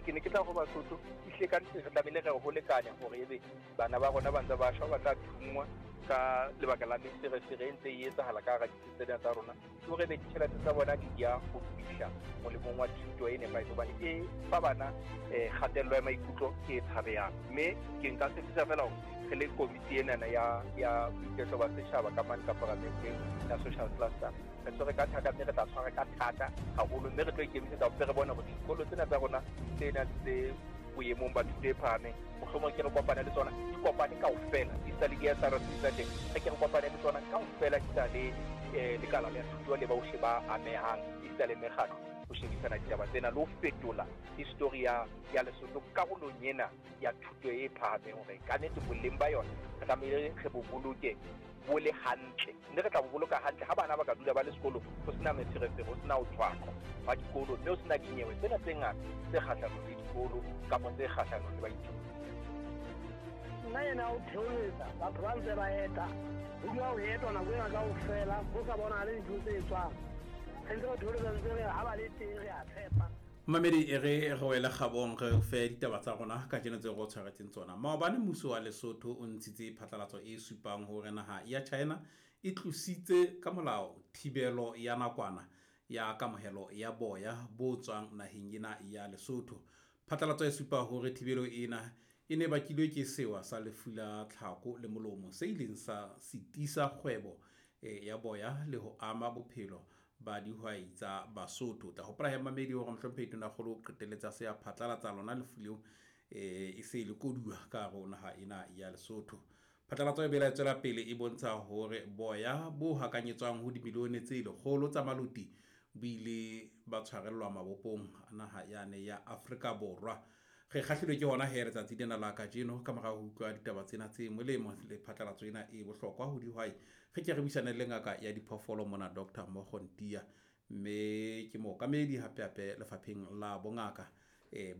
Ke ne ke tla go Basotho, ehlile ka nnete re tlamehile re ho lekane hore ebe bana ba rona ba ntse ba shwa, ba tla thunngwa ka lebaka la meferefere e ntse e etsahala ka hara ditsi tsena tsa rona, ke hore ebe ditjhelete tsa bona di ya ho fihla molemong wa thuto e nepahetseng, hobane e fa bana kgatello ya maikutlo e tshabehang. Mme ke nka tshepisa fela hore re le komiti enana ya boiketlo ba setjhaba ka mane ka paramenteng ya social cluster, re tshwere ka thata, mme re tla tshwara ka thata haholo, mme re tlo ikemisetsa hore re bone hore dikolo tsena tsa rona tsena tse boemong ba thuto e phahameng, mohlomong ke re kopane le tsona, di kopane kaofela, di sa le di-S R C tsa teng, re ke re kopane le tsona kaofela, di sa le lekala la thuto le bohle ba amehang, esita le mekgatlo, ho shebisana ditaba tsena le ho fetola history ya Lesotho karolong ena ya thuto e phahameng, hore ka nnete boleng ba yona re tlamehile re bo boloke bo le hantle, mme re tla bo boloka hantle ha bana ba ka dula ba le sekolong, ho sena meferefere, ho sena ho tshwaqwa ba dikolo, mme ho sena dinyewe tsena tse ngata tse kgahlanong le dikolo kapa tse kgahlanong le baithuti. Nna ena o theoletsa batho ba ntse ba eta, ho dula ho etwa nako ena kaofela, ho sa bonahale dintho tse etswang. Re ntse re theoletsa, ntse re ha ba le teng re a tshepa. Mamedi, e re re wele kgabong, re fe ditaba tsa rona kajeno tse re o tshwaretseng tsona. Maobane mmuso wa Lesotho o ntshitse phatlalatso e supang hore naha ya China e tlositse ka molao thibelo ya nakwana ya kamohelo ya boya bo tswang naheng ena ya Lesotho. Phatlalatso e supa hore thibelo ena e ne bakilwe ke sewa sa lefu la tlhako le molomo se ileng sa sitisa kgwebo ya boya le ho ama bophelo ba dihwai tsa Basotho. Tla hopola he mamedi hore mohlomphehi Tonakgolo o qetelletsa se a phatlalatsa lona lefu leo, e se le koduwa ka hare ho naha ena ya Lesotho. Phatlalatso e bela e tswela pele e bontsha hore boya bo hakanyetswang ho dimilione tse lekgolo tsa maloti bo ile ba tshwarellwa mabopong a naha yane ya Afrika Borwa. Re kgahlilwe ke hona he letsatsi lena la kajeno ka mora ho utlwa ditaba tsena tse molemo le phatlalatso ena e bohlokwa ho dihwai. Re ke re buisane le ngaka ya diphoofolo mona, Doctor Mogontia, mme ke mookamedi hape hape lefapheng la bongaka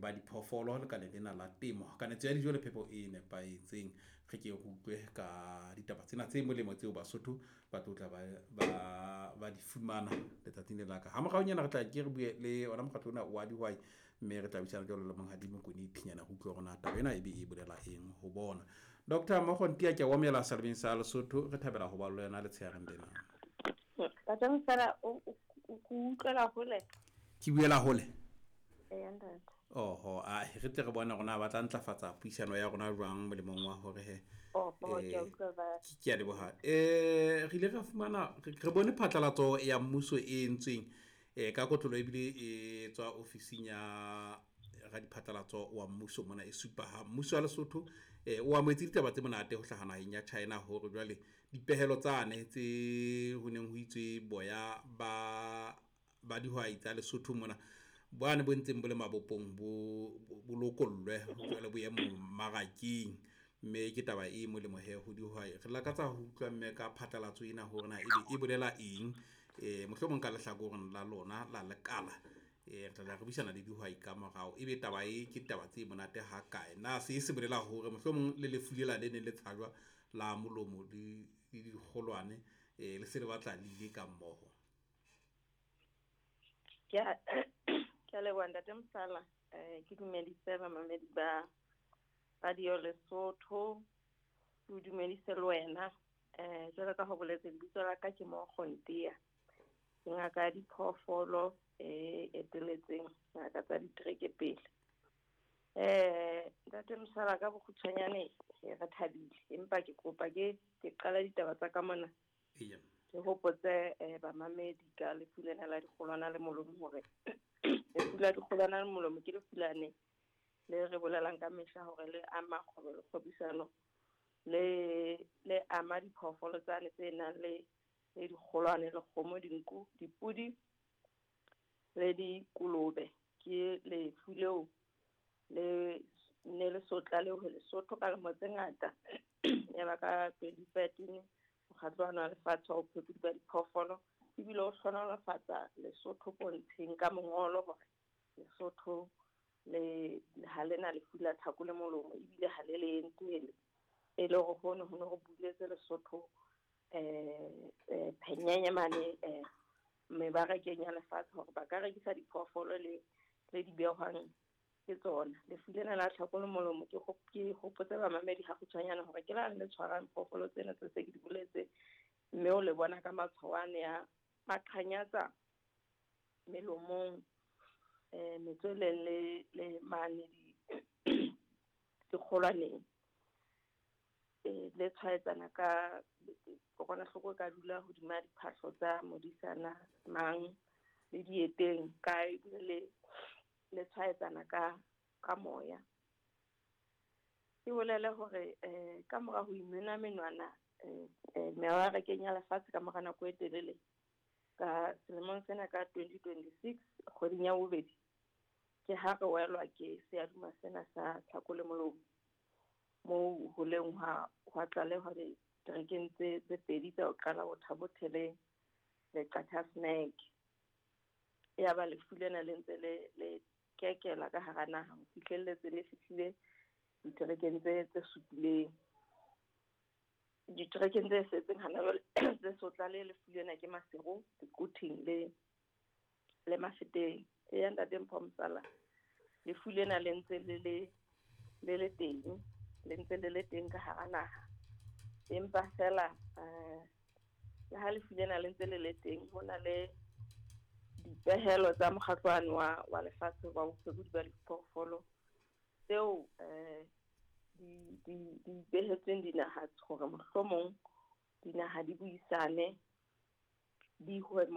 ba diphoofolo lekaleng lena la temo, kanetso ya dijo le phepo e nepahetseng. Re ke re utlwe ka ditaba tsena tse molemo tseo Basotho ba tlo tla ba di fumana letsatsing le la ka. Ha moraonyana re tla ke re bue le ona mokgatlo ona wa dihwai, mme re tla buisana jwalo le Monghadi Mokone Thinyana ho utlwa hore na taba ena e be e bolela eng ho bona. Doctor Mogontia, ke a o amohela Salebeng sa Lesotho, re thabela ho ba le wena letshehareng lena. Ntate Mosala, o utlwela hole? Ke buela hole? Eya, ntate. Oho, a re tle re bone hore na ba tla ntlafatsa puisano ya rona jwang molemong wa hore he, Oho, ke a utlwa ba. Ke a leboha. Re ile ra fumana, re bone phatlalatso ya mmuso e entsweng, ka kotlolo ebile e tswa ofising ya radiphatlalatso wa mmuso mona e supa ha mmuso wa Lesotho, o amohetse ditaba tse monate ho hlaha naheng ya China hore jwale dipehelo tsane tse ho neng ho itswe boya ba dihwai tsa Lesotho mona bane bo ntseng bo le mabopong bo lokollwe jwale bo ye mmarakeng, mme ke taba e molemo he ho dihwai. Re lakatsa ho utlwa mme ka phatlalatso ena hore na ebe e bolela eng, mohlomong ka lehlakoreng la lona la lekala, re tla re buisana le dihwai ka morao. Ebe taba e ke taba tse monate ha kae? Na se se bolela hore mohlomong le lefu lela le neng le tshajwa la molomo le dikgolwane, le se le batla le ile ka mmoho? Ke a leboha Ntate Mosala, ke dumedise bamamedi ba Radio Lesotho, ke o dumedise le wena. Jwalo ka ho boletse, lebitso la ka ke Mogontia, ke ngaka ya diphoofolo e eteletseng ngaka tsa ditereke pele. Ntate Mosala, ka bokgutshwanyane re thabile, empa ke kopa ke qala ditaba tsa ka mona. Eya. Ke hopotse bamamedi ka lefu lena la dikgolwana le molomo hore lefu la dikgolwana le molomo ke lefu lane le re bolelang ka mehla hore le ama kgwebo le kgwebisano, le ama diphoofolo tsane tse nang le dikgolwane, le kgomo, dinku, dipudi le dikolobe. Ke lefu leo le ne le so tlalewe Lesotho ka lemo tse ngata. Ya ba ka 2013 mokgatlo wa lefatshe wa bophelo ba diphoofolo ebile o hlohonolofatsa Lesotho pontsheng ka mongolo hore Lesotho le ha lena lefu la tlhako le molomo ebile ha le le entele, e le hore hono ho ne ho buletse Lesotho phenyenye mane mebarakeng ya lefatshe hore ba ka rekisa diphoofolo le di behwang Ke tsona. Lefu lena la tlhako le molomo ke hopotse bamamedi ha kgutshwanyane hore ke la le tshwarang phoofolo tsena tse se ke di boletse, mme o le bona ka matshwao ane a maqhanyatsa melomong, metsweleng le mane dikgolwaneng. Le tshwaetsana ka kokwanahloko e ka dula hodima diphahlo tsa modisana mang le dieteng kae, le tshwaetsana ka moya. Ke bolele hore ka mora ho imena menwana mebarakeng ya lefatshe ka mora nako e telele, ka selemong sena ka 2026 kgweding ya bobedi, ke ha re welwa ke seaduma sena sa tlhako le molomo, moo ho leng hwa tlalehwa diterekeng tse pedi tsa ho qala Thabo Thele le Qacha's Nek. Ya ba lefu lena le ntse le kekela ka hara naha ho fihlelletse le fihlile diterekeng tse supileng. Diterekeng tse setseng hana jwale tse so tlale lefu lena ke Maseru, Quthing le Mafeteng. Eya ntate Mpho Mosala, lefu lena le ntse le le teng, le ntse le le teng ka hara naha. Empa fela le ha lefu lena le ntse le le teng, ho na le dipehelo tsa mokgatlwane wa lefatshe wa bophekodi ba diphoofolo tseo di behetsweng dinaha hore mohlomong dinaha di buisane di